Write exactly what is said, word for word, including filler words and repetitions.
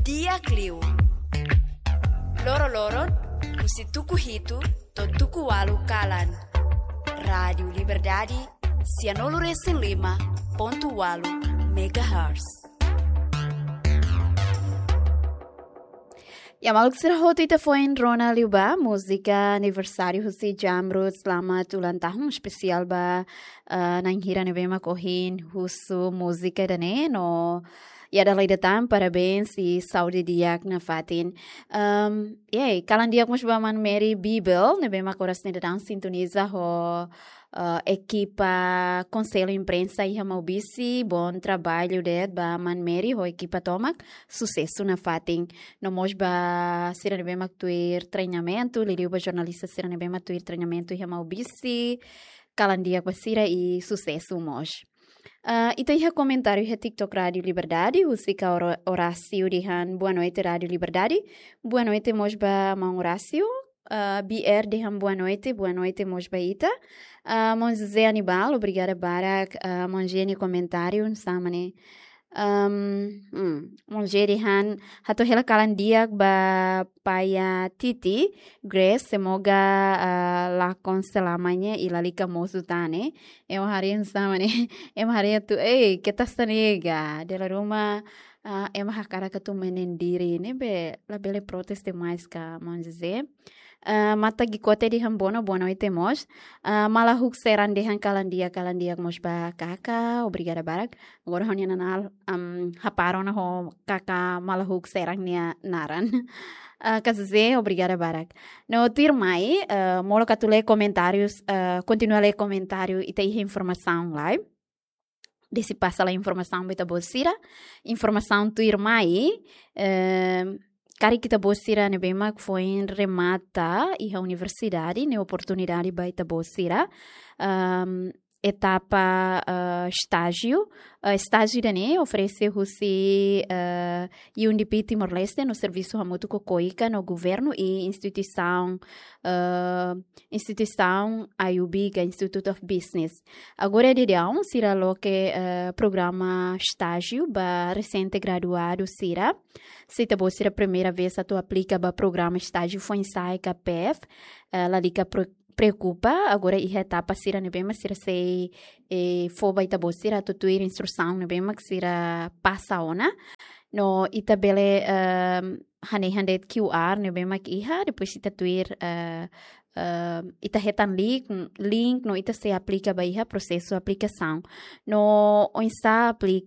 Di'ak liu. Loro-loron, husi tuku hitu to'o tuku ualu kalan. Rádiu Liberdade, sianulu-resin-lima pontu ualu megahertz. Ya, maluk sira hotu, ita foin rona liu ba múzika aniversáriu husi Jamrud, selamat ulang tahun, espesiál ba, eh, na'in hira ne'ebé mak ohin husu múzika ida-ne'e, no ya, dala ida tan, parabéns i saúde di'ak nafatin. Ehm, ya, kalan di'ak mós ba Mana Mary Bibel, ne'ebé mak oras ne'e daudaun sintoniza ho, eh, ekipa Konsellu Imprensa iha Maubisse. Bom trabalho de'it ba Mana Mary ho ekipa tomak, susesu nafatin. No mós ba sira ne'ebé mak tuir treinamentu, liuliu ba jornalista sira ne'ebé mak tuir treinamentu iha Maubisse, kalan di'ak ba sira i susesu mós. Ah, ita iha komentáriu iha TikTok Rádiu Liberdade, husi Ka Oro-, Horácio dehan boa noite Rádiu Liberdade. Boa noite mós ba maun Horácio. Ah, B R dehan boa noite, boa noite mós ba ita. Ah, maun José Anibal, obrigada barak, ah, maun José nia komentáriu, hanesan ne'e. Ehm, hmm, maun José dehan hato'o hela kalan di'ak ba Paya Titi, Grace, semoga, ah, lakon selamanya i lalika mosu tan ne'e. Ema haree hanesan ne'e, ema haree atu, eh, keta sanega. Dala ruma, ah, ema hakarak atu menin diri ne'ebé labele protes demais ka, maun José. Ah, Mata Gikote dehan boa no-, boa noite mós. Ah, Malahuk Seran dehan kalan di'ak, kalan di'ak mós ba kaka, obrigada barak. Agora ha'u-nia nanál, am, hapara ona ho kaka Malahuk Seran nia naran. Ah, Kak José, obrigada barak. No tuirmai, eh, molok atu lee komentárius, eh, kontinua lee komentáriu, ita iha informasaun lai. Desde pasa lai informasaun ba ita-boot sira. Informasaun tuirmai, eh, karik ita-boot sira ne'ebé mak foin remata iha universidade, ne'e oportunidade ba ita-boot sira. Ehm, etapa, eh, estájiu. Eh, estájiu ida-ne'e oferese husi, eh, U N D P Timor-Leste no servisu hamutuk ho KOICA no governu i instituisaun, eh, instituisaun I U B ka Institute of Business. Agora iha daudaun sira loke, eh, programa estájiu ba resente-graduadu sira. Se ita-boot sira primeira vez atu aplika ba programa estájiu foin-sa'e ka P F, eh, lalika pre-, preokupa, agora iha etapa sira ne'ebé mak sira sei, eh, fó ba ita-boot sira atu tuir instrusaun ne'ebé mak sira pasa ona. No ita bele, ehm, hanehan de'it Q R ne'ebé mak iha, depois ita tuir, eh, ehm, ita hetan link, link no ita sei aplika ba iha prosesu aplikasaun. No oinsá aplika,